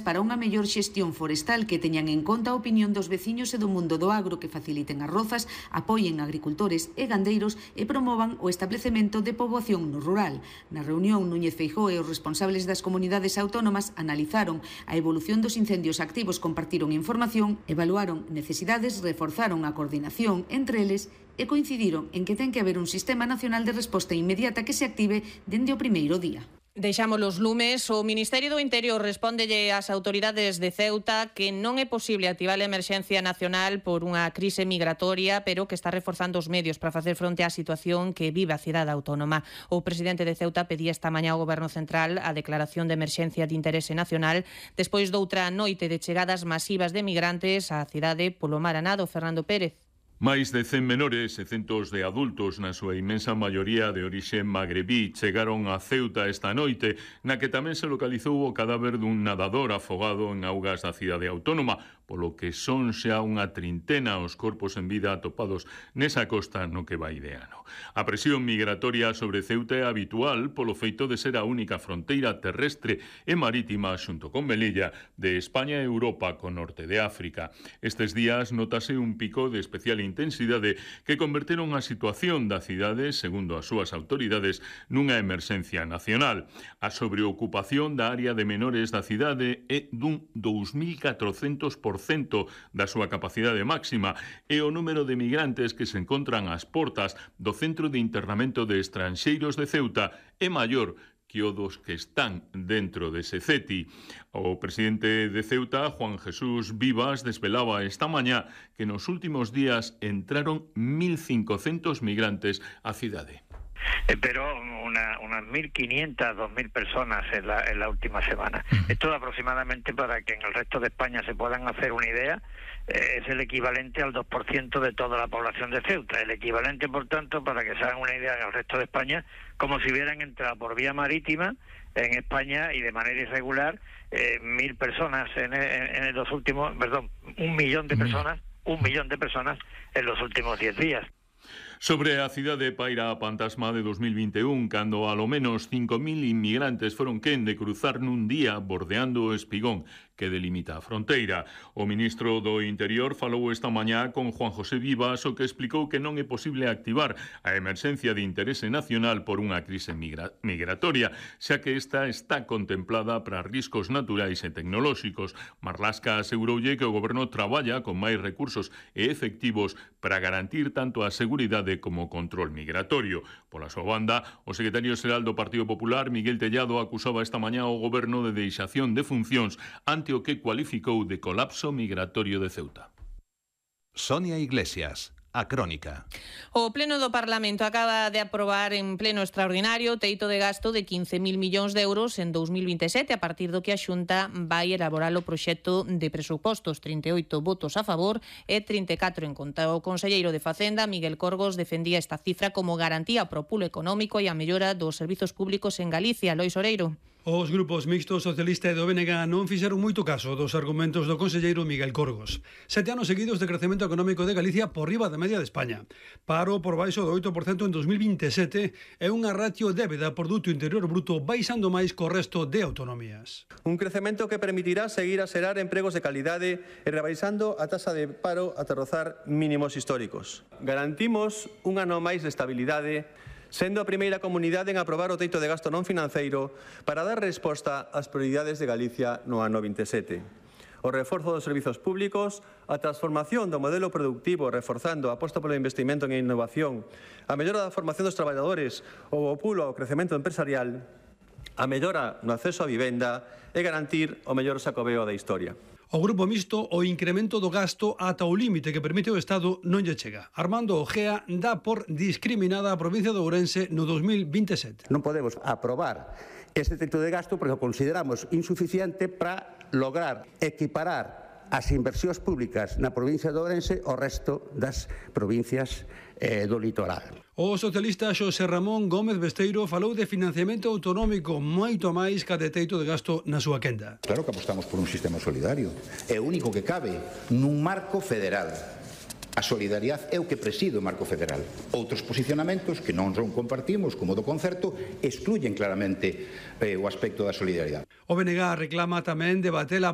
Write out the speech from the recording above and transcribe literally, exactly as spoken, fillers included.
para unha mellor xestión forestal que teñan en conta a opinión dos veciños e do mundo do agro, que faciliten as rozas, apoien agricultores e gandeiros e promovan o establecemento de poboación no rural. Na reunión, Núñez Feijóo e os responsables das comunidades autónomas analizaron a evolución dos incendios activos, compartiron información, evaluaron necesidades, reforzaron a coordinación entre eles e coincidiron en que ten que haber un sistema nacional de resposta inmediata que se active dende o primeiro día. Deixamos os lumes. O Ministerio do Interior respóndelle ás autoridades de Ceuta que non é posible activar a emerxencia nacional por unha crise migratoria, pero que está reforzando os medios para facer fronte á situación que vive a cidade autónoma. O presidente de Ceuta pedía esta mañá ao Goberno Central a declaración de emerxencia de interese nacional despois doutra noite de chegadas masivas de migrantes á cidade polo mar Anado. Fernando Pérez. Máis de cen menores e centos de adultos, na súa inmensa maioría de orixe magrebí, chegaron a Ceuta esta noite, na que tamén se localizou o cadáver dun nadador afogado en augas da cidade autónoma, polo que son xa unha trintena os corpos en vida atopados nesa costa no que vai de ano. A presión migratoria sobre Ceuta é habitual polo feito de ser a única fronteira terrestre e marítima xunto con Melilla de España e Europa co norte de África. Estes días notase un pico de especial intensidade que converteron a situación da cidade, segundo as súas autoridades, nunha emerxencia nacional. A sobreocupación da área de menores da cidade é dun dous mil catrocentos por cento da súa capacidade máxima e o número de migrantes que se encontran ás portas do Centro de Internamento de Estranxeiros de Ceuta é maior que o dos que están dentro dese C E T I. O presidente de Ceuta, Juan Jesús Vivas, desvelaba esta mañá que nos últimos días entraron mil cincocentos migrantes á cidade. Pero una, unas mil quinientas, dos mil personas en la, en la última semana. Esto aproximadamente, para que en el resto de España se puedan hacer una idea, eh, es el equivalente al dos por ciento de toda la población de Ceuta. El equivalente, por tanto, para que se hagan una idea en el resto de España, como si hubieran entrado por vía marítima en España y de manera irregular eh, mil personas en, en, en los últimos, perdón, un millón de personas, un millón de personas en los últimos diez días. Sobre a cidade paira a pantasma de dos mil vinte e un, cando alo menos cinco mil inmigrantes foron quen de cruzar nun día bordeando o espigón que delimita a fronteira. O ministro do Interior falou esta mañá con Juan José Vivas, o que explicou que non é posible activar a emerxencia de interese nacional por unha crise migra migratoria, xa que esta está contemplada para riscos naturais e tecnolóxicos. Marlaska aseguroulle que o goberno traballa con máis recursos e efectivos para garantir tanto a seguridade como o control migratorio. Pola súa banda, o secretario xeral do Partido Popular, Miguel Tellado, acusaba esta mañá o goberno de deixación de funcións ante o que cualificou de colapso migratorio de Ceuta. Sonia Iglesias, a Crónica. O Pleno do Parlamento acaba de aprobar en pleno extraordinario o teito de gasto de quince mil millóns de euros en dos mil vinte e sete, a partir do que a Xunta vai elaborar o proxecto de presupostos. trinta e oito votos a favor e trinta e catro en contra. O conselleiro de Facenda, Miguel Corgos, defendía esta cifra como garantía para o pulo económico e a mellora dos servizos públicos en Galicia. Lois Oreiro. Os grupos mixtos socialista e do B N G non fixeron moito caso dos argumentos do conselleiro Miguel Corgos. Sete anos seguidos de crecemento económico de Galicia por riba da media de España. Paro por baixo do oito por cento en dos mil vinte e sete e unha ratio débeda por Produto Interior Bruto baixando máis co resto de autonomías. Un crecemento que permitirá seguir a xerar empregos de calidade e rebaixando a taxa de paro ata rozar mínimos históricos. Garantimos un ano máis de estabilidade, sendo a primeira comunidade en aprobar o teito de gasto non financeiro para dar resposta ás prioridades de Galicia no ano vinte e sete. O reforzo dos servizos públicos, a transformación do modelo productivo reforzando a aposta polo investimento en innovación, a mellora da formación dos traballadores ou o pulo ao crecemento empresarial, a mellora no acceso á vivenda e garantir o mellor sacobeo da historia. O grupo mixto o incremento do gasto ata o límite que permite o Estado non lle chega. Armando Ojea dá por discriminada a provincia de Ourense no dos mil vinte e sete. Non podemos aprobar este teito de gasto porque o consideramos insuficiente para lograr equiparar as inversións públicas na provincia de Ourense ao resto das provincias eh, do litoral. O socialista Xosé Ramón Gómez Besteiro falou de financiamento autonómico moito máis ca de teito de gasto na súa quenda. Claro que apostamos por un sistema solidario. É o único que cabe nun marco federal. A solidaridade é o que preside o marco federal. Outros posicionamentos que non son compartimos, como do concerto, excluyen claramente eh, o aspecto da solidaridade. O B N G reclama tamén debater a